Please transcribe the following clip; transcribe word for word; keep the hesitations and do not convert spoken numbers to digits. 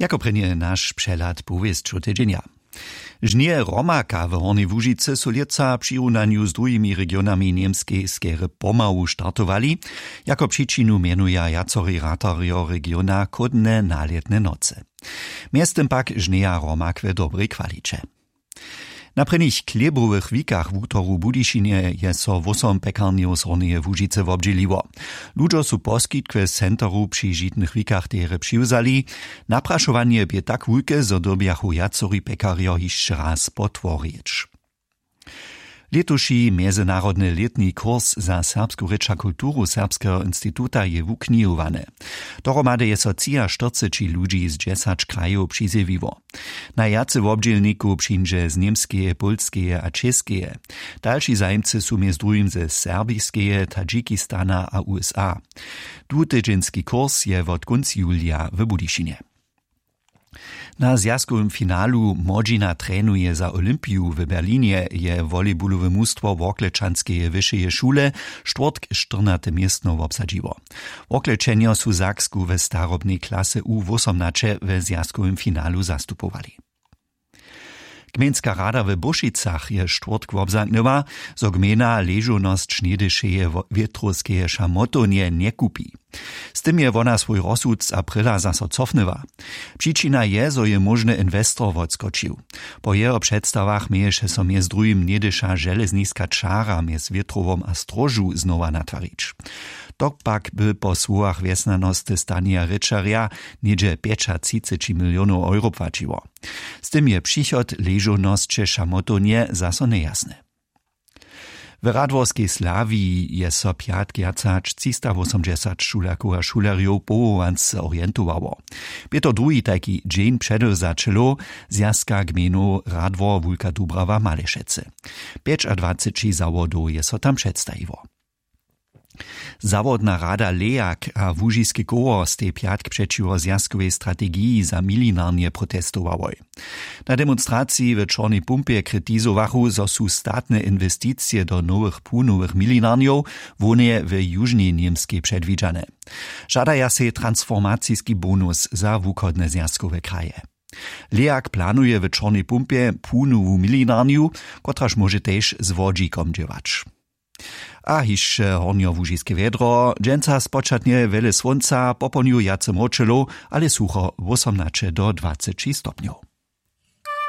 Jako prěnje naš přehlad powěsćow tydźenja. Žnje romaka w Hornjej Łužicy su lětsa w přirunanju z druhimi regionami Němskej skerje pomału startowali. Jako přičinu mjenuja wjacori ratarjo regiona chłódne nalětne nocy. Mjeztym pak žnjeja romak w dobrej kwaliće. Na prěnich chlěbowych wikach wutoru w Budyšinje je so wósom pjekarnjow z Hornjeje Łužicy wobdźěliło. Ludźo su poskitk w centeru při žitnych wikach derje přiwzali. Naprašowanje bě tak wulke, zo dyrbjachu wjacori pjekarjo hišće raz potworić. Lětuši mjezynarodny lětni kurs za serbsku rěč a kulturu serbskeho instituta je wuknihowany. Dohromady je so třiaštyrceći ludźi z dźesać krajow přizjewiło. Najwjace wobdźělnikow přińdźe z Němskeje, Pólskeje a Čěskeje. Dalši zajimcy su mjez druhim ze Serbiskeje, Tadžikistana a U S A. Dwutydźenski kurs je wot kónc julija w Budyšinje. Na zwjazkowym finalu Młodźina trenuje za Olympiju w Berlinje je volejbulowe mustwo Worklečanskeje wyšeje šule štwórtk štyrnate městno wobsadźiło. Worklečenjo su Saksku w starobnej klase U wósomnaće we zwjazkowym finalu zastupowali. Gmejnska rada w Bóšicach je štwórtk wobzamknyła, zo gmejna ležownosć něhdyšeje wo-, wětrowskeje šamotownje njekupi. Z tym je wona swój rozsud z aprila zaso cofnyła. Přičina je, zo je móžny inwestor wotskočił. Po jeho předstawach měješe so mjez druhim něhdyša železniska čara mjez wětrowom a stróžu znowa natwarić. To pak by po słowach wjesnjanosty Stanija Rěčerja něhdźe pjećatřiceći milionow euro płaćiło. Z tym je přichod ležownosće šamotownje zaso njejasny. W radworskej Slawiji je so pjatk wjac hač třistawósomdźesat šulerkow a šulerjow powołance orientowało. Bě to druhi tajki dźeń předewzaćelow zwjazka gmejnow Radwor Wulka Dubrawa Malešecy. Pjećadwaceći zawodow je so tam předstajiło. Zawodna rada Lejak a Łužiske koło stej pjatk přećiwo zwjazkowej strategiji za milinarnje protestowałoj. Na demonstraciji w Čornej Pumpje kritizowachu, zo su statne inwesticije do nowych płunowych milinarnjow hłowneje w Južnej Němskej předwidźane. Žadaja sej transformaciski bonus za wuchodne zwjazkowe kraje. Lejak planuje w Čornej Pumpje płunowu milinarnju, kotraž móže tež z wodźikom dźěłać. A hišće hornjołužiske wjedro. Dźensa spočatnje wjele słónca, popołdnju wjace mróčelow, ale sucho, wósomnaće do dwaceći stopnjow.